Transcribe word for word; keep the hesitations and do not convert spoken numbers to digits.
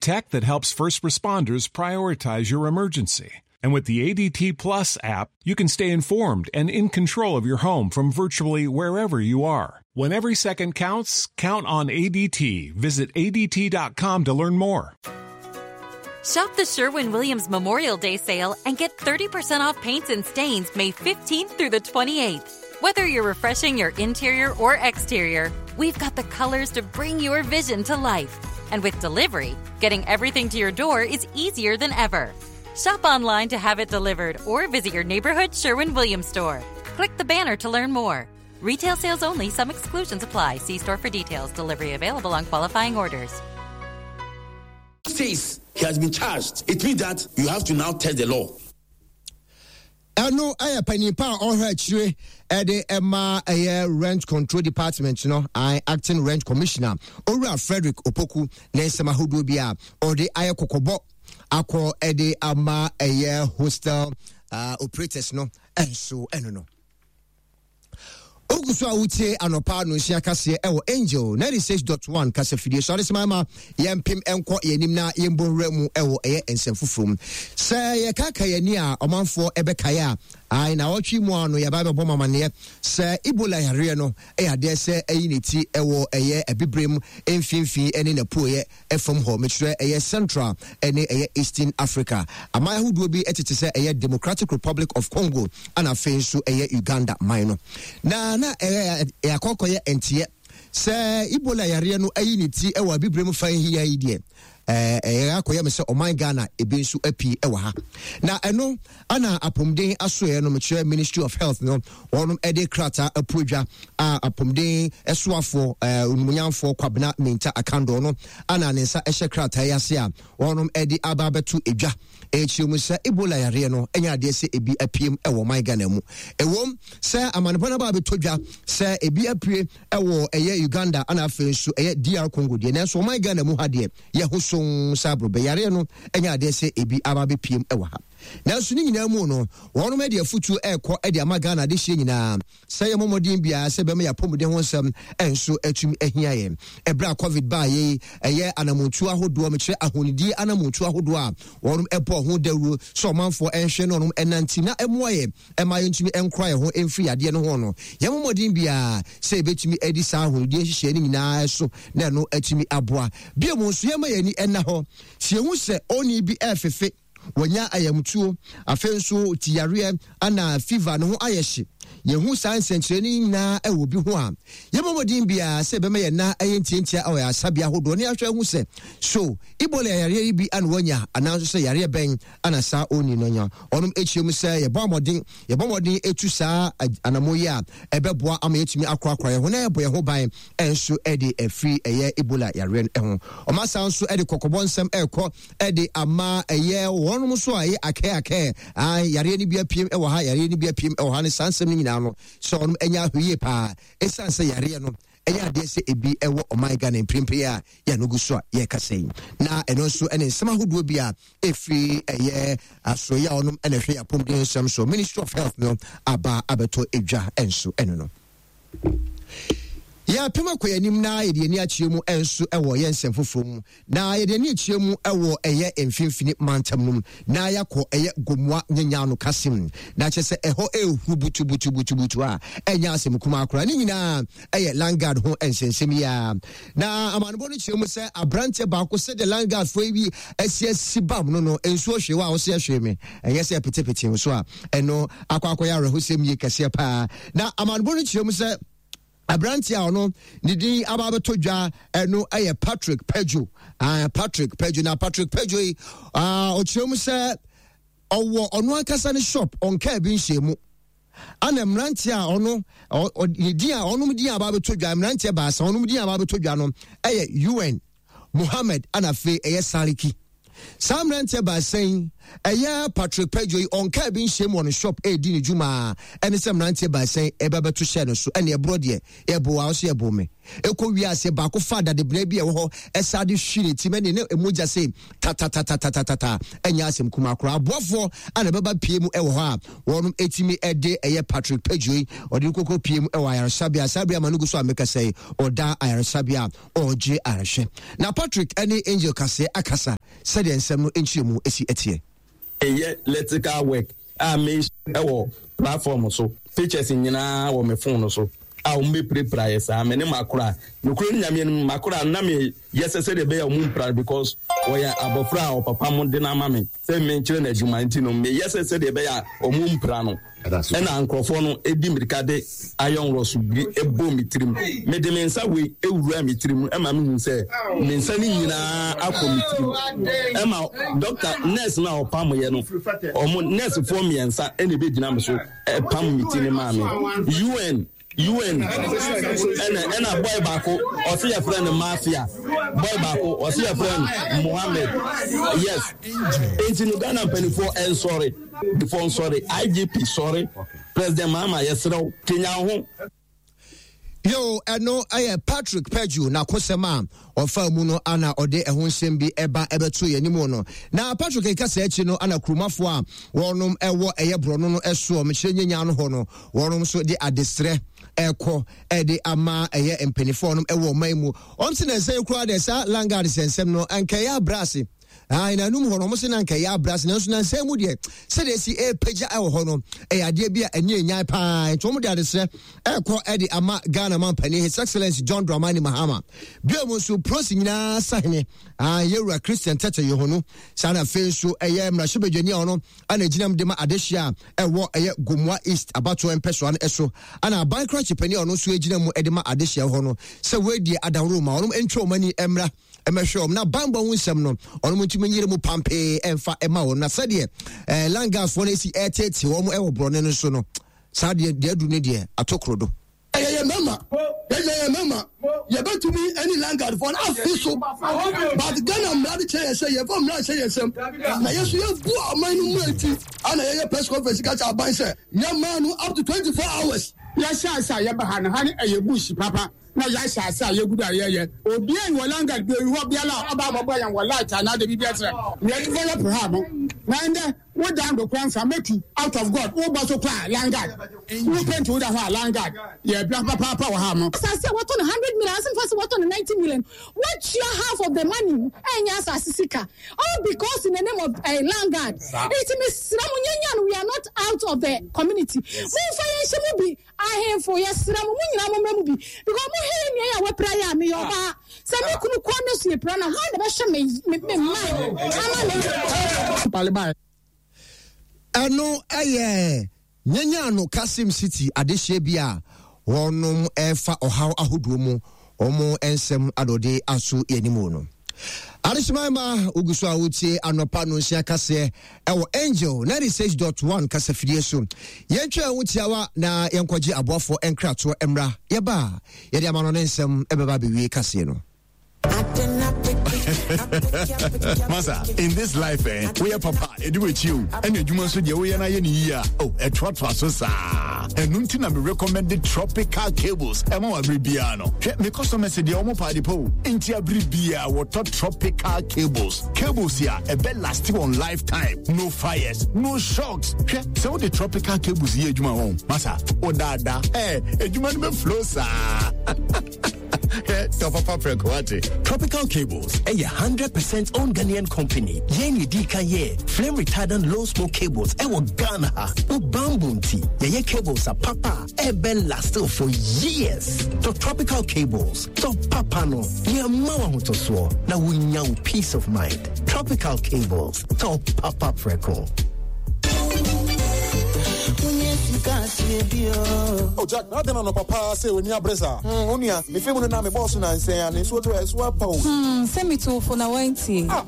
Tech that helps first responders prioritize your emergency. And with the A D T Plus app, you can stay informed and in control of your home from virtually wherever you are. When every second counts, count on A D T. Visit A D T dot com to learn more. Shop the Sherwin Williams Memorial Day sale and get thirty percent off paints and stains May fifteenth through the twenty-eighth. Whether you're refreshing your interior or exterior, we've got the colors to bring your vision to life. And with delivery, getting everything to your door is easier than ever. Shop online to have it delivered or visit your neighborhood Sherwin Williams store. Click the banner to learn more. Retail sales only, some exclusions apply. See store for details. Delivery available on qualifying orders. Says he has been charged. It means that you have to now test the law. Ɛno ɛyɛ panyimpa a ɔhwɛ akyire ɛde ɛma ɛyɛ Rent Control Department no, acting rent commissioner, Owura Frederick Opoku, ne nsɛm ahodoɔ bi a ɔde ayɛ kɔkɔbɔ akɔ ɛde ama ɛyɛ hostel uh, operators no. Ɛnso ɛno no ogu so a wotie anɔpa no nsia kaseɛ ɛwɔ Angel ninety-six point one kasafidie so. Adesima ma yɛmpem nkɔ yɛnim na yɛmbɔ nwura mu ɛwɔ ɛyɛ nsɛm foforɔ mu. Sɛ yɛkaka yɛni a ɔmanfoɔ ɛbɛkaeɛ a ai na ɔtwe mu ano yɛba bɛbɔ mamaneɛ sɛ Ebola yareɛ no ɛyɛ adeɛ sɛ ɛyi ne ti ɛwɔ ɛyɛ Abibirem mfimfini ɛne n'apueɛ ɛfam hɔ, mekyerɛ ɛyɛ Central ɛne ɛyɛ Eastern Africa aman ahodoɔ bi ɛtete sɛ ɛyɛ Democratic Republic of Congo, ana afei nso ɛyɛ Uganda man no. Na na ɛyɛ akɔkɔyɛ nteɛ sɛ Ebola yareɛ no ayi ne ti ɛwɔ Abibirem fan hia yi deɛ, ɛyɛ akɔyɛ me sɛ ɔman Ghana ebi nso apii ɛwɔ ha. Na ɛno ana apɔmuden asoɛ no, mekyerɛ Ministry of Health no, wɔnom ɛde krataa apuodwa a apɔmuden ɛsoafoɔ ɛɛ Onimonyamfoɔ Kwabena Mintah Akandoh no ana ne nsa ɛhyɛ krataa yi ase a wɔnom ɛde aba abɛto edwa, ɛkyerɛ mu sɛ Ebola yareɛ no ɛnyɛ adeɛ sɛ ebi apiem ɛwɔ ɔman Ghana mu. Ɛwom sɛ amanebɔ no aba abɛtɔ dwa sɛ ebi apue ɛwɔ ɛyɛ Uganda ana afei nso ɛyɛ D R Congo deɛ, nanso ɔman Ghana mu ha deɛ, yɛho so sɛ aborɔbɛ yareɛ no ɛnyɛ adeɛ sɛ ebi aba abɛpiem ɛwɔ ha. Nanso ne nyinaa mu no, wɔnom de afotuo ɛrekɔ de ama Ghana adehyeɛ nyinaa sɛ yɛ mmɔmmɔden biara sɛ bɛma yɛapɔmuden ho nsɛm ɛnso atumi ahia yɛn. Ɛberɛ a COVID baa yei, ɛyɛ anamontuo ahodoɔ, mekyerɛ ahonidie anamontuo ahodoɔ a wɔnom ɛbɔ ho dawuro sɛ ɔmanfoɔ ɛnhwɛ ne ɔnom ɛnante na ɛmmoa yɛ ɛma yɛntumi ɛnkora yɛn ho ɛmfiri yadeɛ no ho no, yɛn mmɔden biara sɛ yɛbɛtumi adi saa ahonidie nhyehyɛeɛ no nyinaa so na ɛno atumi aboa. Bio mu nso, yɛma yɛn ani ɛna hɔ sɛ yɛhu sɛ ɔni bi ɛɛfefe, wɔnya ayamtuo, afei nso tiyareɛ ana fever ne ho ayɛ hye, yɛhu saa nsɛnkyerɛnne nyinaa ɛwɔ bi ho a, yɛmmɔ mmɔden biara sɛ ɛbɛma yɛn na ɛyɛ ntiantia ɛwɔ yɛn asabea ahodoɔ ne ahwɛ ahu sɛ so Ebola yareɛ yi bi ana wanya, anaa nso sɛ yareɛ bɛn ana saa ɔni no nya. Ɔnom akyerɛ mu sɛ yɛbɔ mmɔden yɛbɔ mmɔden etu saa anamo yi a, ɛbɛboa ama yɛtumi akorakora yɛn ho na yɛbɔ yɛn ho ban ɛnso ɛde afiri ɛyɛ Ebola yareɛ no ho. Ɔma saa nso ɛde kɔkɔbɔ nsɛm ɛrekɔ ɛde ama ɛyɛ wɔnom nso a ɛyɛ akɛɛ akɛɛ yareɛ no bi apiem ɛwɔ ha, yareɛ no bi apiem ɛwɔ ha ne saa nsɛm no nyinaa no, sɛ ɔnom ɛnya ahwɛyie paa, ɛsiane sɛ yareɛ no ɛyɛ adeɛ sɛ ebi ɛwɔ ɔman Ghana mprempren a yɛno gu so a yɛrekasa yi. Na ɛno nso ɛne nsɛm ahodoɔ bi a ɛfiri ɛyɛ asoeɛ a ɔnom ɛna ɛhwɛ apɔmuden nsɛm so, Ministry of Health no, aba abɛtɔ edwa ɛnso ɛno no. Yɛapem akɔ yɛn anim na yɛde ani akyerɛ mu nso wɔ yɛn nsɛm foforɔ mu, na yɛde ani akyerɛ mu wɔ ɛyɛ Mfimfini Mantam no mu na yɛakɔ ɛyɛ Gomoa Nyanyano Kasim, na kyerɛ sɛ ɛhɔ ɛɛhu butubutubutubutu a ɛnyɛ asɛm kumaa koraa. Ne nyinaa ɛyɛ landguard ho nsɛnsɛm yi a na amanebɔ no kyerɛ mu sɛ aberanteɛ baako, sɛdeɛ landguard foɔ yi bi asi asi bam no no nsuo hwee wɔ a wɔsɛ hwee me ɛnyɛ sɛ petepete so a ɛno akɔ akɔyɛ awerɛhosɛm yie kɛseɛ paa. Na amanebɔ no kyerɛ mu sɛ aberanteɛ a ɔno ne din aba abɛtɔ dwa ɛno ɛyɛ Patrick Pedro uh, Patrick Pedro. Na Patrick Pedro yi, ɔkyerɛ mu sɛ ɔwɔ ɔno ankasa ne shop, ɔnkaa bi nhyɛ mu, ana mmeranteɛ a ɔno ne din a ɔnom din aba abɛtɔ dwa, mmeranteɛ baasa ɔnom din aba abɛtɔ dwa no ɛyɛ Un Mohammed, ana afei ɛyɛ Saliki. Saa mmeranteɛ baasa yi, ɛyɛ Patrick Pedro yi, ɔnkaa bi nhyɛm wɔ ne shop ɛredi ne dwuma a ɛne sɛ mmeranteɛ baasa yi ɛba bɛto hyɛ no so, ɛne ɛborɔ deɛ yɛbo a ɔso yɛbo me. Ɛkɔ wiase baako fa dadebena bi a ɛwɔ hɔ ɛsa de hwi ne ti mɛne ne mogya sɛ tatatatatata. Ɛnyɛ asɛm kuma koraa. Aboafoɔ a na ɛbɛba pie mu ɛwɔ hɔ a wɔnom ɛtumi ɛde ɛyɛ Patrick Pedro yi ɔde no kɔkɔ pie mu ɛwɔ ayaresabea. Saa bere ama no gu so a mekasa yi, ɔda ayaresabea a ɔregye arehwɛ. Na Patrick ɛne Angel Kaseɛ akasa sɛdeɛ nsɛm no nkyerɛ mu esi ɛteɛ. Ɛyɛ electrical work a me ɛwɔ platform so, pictures nyinaa wɔ me phone so a wɔn bɛ pirapira yɛ saa. Mɛ ne makora nokura ne Nyame no, makora na me yɛ sɛ sɛdeɛ ɛbɛyɛ ɔmo mpira because wɔyɛ abɔfra a ɔpapa mo de n'ama me sɛ me nkyerɛ n'adwuma, nti no me yɛ sɛ sɛdeɛ ɛbɛyɛ a ɔmo mpira no, ɛna nkurɔfoɔ no edi mirika de iron rods bi ebɔ mi tirim. Me de me nsa wei ewura mi tirim, ɛma mi hu sɛ me nsa ne nyinaa akɔ mi tirim, ɛma doctor nurse na ɔpam yɛ no, ɔmo nurse foɔ mmiɛnsa ɛna ebe gyina mi so ɛpam mi ti ne maa mi un un ɛna ɛna boy baako ɔsi yɛ frɛ no Mafia, boy baako ɔsi yɛ frɛ no Mohammed. Yes, nti no Ghana mpanimfoɔ ɛnsɔre before nsɔre, I G P sɔre, President Mahama, yɛsrɛw kenya ho. Yo, ɛno ɛyɛ Patrick Pedro n'akosɛm a ɔfa mu no ana ɔde ɛho nsɛm bi ɛba ɛbɛto yɛn anim no. Na Patrick kasa akyi no, ana kurumafoɔ a wɔnom ɛwɔ ɛyɛ borɔno no ɛsoɔ mekyerɛ nyenya no hɔ no, wɔnom nso de adesrɛ ɛkɔ ɛde ama ɛyɛ mpanimfoɔ nom ɛwɔ ɔman mu. Wɔn si na nsɛm koraa deɛ, saa landguard sɛnsɛm no nkɛyɛ abrɛ ase na anum hɔ no, ɔmo sɛ na nka ɛyɛ abrɛ ase, nanso na nsɛm mu deɛ, sɛdeɛ esi ɛrepagya ɛwɔ hɔ no, ɛyɛ adeɛ bi a ɛni enyan paa. Nti wɔn de adesrɛ ɛrekɔ ɛde ama Ghana man panin, His Excellence John Dramani Mahama, bio mu nso prosi nyinaa sahene yɛwura Christian Tetteh Yohuno. Saa na afei nso ɛyɛ mmarahyɛbadwani a ɔno ana gyina mu de ma adehyia a ɛwɔ ɛyɛ Gomoa East abatoɔ mpɛsoa no ɛso, ana aban krakye panin a ɔno nso gyina mu de ma adehyia hɔ no, sɛ wɔadie adaworo ma ɔno ntwa wɔn ani mmra ɛmɛhwɛ wɔn na banbɔ ho nsɛm no, ɔno ntumi nyere mu pampee ɛmfa ɛma wɔn. Na sɛdeɛ ɛɛ landguardsfoɔ no esi ɛɛtete wɔn ɛwɔ borɔne no so no, saa deɛ deɛ adu ne deɛ ato koro do. Yɛyɛ mɛma, yɛyɛ mɛma, yɛbɛtumi ɛne landguardfoɔ no afi so, but Ghana mmara de kyerɛ yɛ sɛ yɛfa mmara hyɛ yɛ nsɛm na yɛso yɛbu ɔman no mu, eti ana yɛyɛ press conference ka kyerɛ aban sɛ yɛmaa no up to twenty four hours. Yɛhyɛ ase a yɛba ha no, ha ne ɛyɛ bush papa na yɛahyɛ ase a yɛgudu a yɛyɛ obiara wɔ landguard bi oyi hɔ biara a ɔba abɔbɔ yɛn wɔ light anaa de biribi akyerɛ yɛ develop ha no. Na ndɛ wodan do kora nfa mɛtu out of God wobɔ so kora landguard, wo paint wo da hɔ a landguard yɛ bia papaapa wɔ ha no. Asase a wɔtɔ no hundred million, asɛm fa sɛ wɔtɔ no ninety million, wɔtua half of the money, ɛnyɛ asase sika, all because in the name of uh, landguard. Eti mesrɛ mo, nyanya no, we are not out of the community. Momfa yɛn hyɛ mu bi. Ahemfo, yɛsrɛ mo, mo nyinaa mommra mu bi, because mo hɛ yɛ nua yɛ a wɔapira yɛ a meyɛ ɔbaa sɛ me kunu kɔ ne so yɛpira na hwan na bɛhwɛ me me me mma ama me? Ɛno ɛyɛ nyanya Kasim City adehyɛ bi a wɔnom ɛfa ɔhaw ahodoɔ mu, wɔn nsɛm adɔde aso yɛn anim no. Adehyema ma ogu so a wotie anɔpa no nsia kaseɛ ɛwɔ Angel ninety-six point one kasafidie so. Yɛntwa ho tiawa na yɛnkɔgye aboafoɔ nkratoɔ mmra. Yɛba a, yɛde ama no ne nsɛm ɛbɛba abɛwie kaseɛ no. Masa, in this life, eh, we are papa, edu ekyi o. Ɛna adwuma nso deɛ woyɛ na yɛ ne yie a, oh, ɛtoatoa so saa. Ɛno nti na me recommend Tropical Cables ɛma wɔ abere biara no. Hwɛ, me customers deɛ, ɔmo paade po. Nti abere biara wɔtɔ Tropical Cables. Cables a ɛbɛ last wɔn lifetime. No fires, no shocks. Hwɛ, sɛ wode Tropical Cables yɛ adwuma wɔn. Masa, ɔdaada, eh, adwuma no bɛ flow saa. Tɔ papa prɛko wate. Tropical Cables ɛyɛ hundred percent owned Ghanaian company. Yɛn ne di kan yɛ flame retardant low smoke cables ɛwɔ Ghana ha. Wo bamboo nti, yɛyɛ cables a papa ɛbɛ last for years. Tɔ Tropical Cables, tɔ papa no, yɛma wo ahotosoɔ na wonya wo peace of mind. Tropical Cables, tɔ papa prɛko. Oh Jack, na adɛn na papa sɛ w'ani abere saa? Wo nua, mefe mu no na mebɔɔ so nansɛn a ne nsuo to ɛso apa o. Hmm, sɛ metoo fo na wantie. Ah.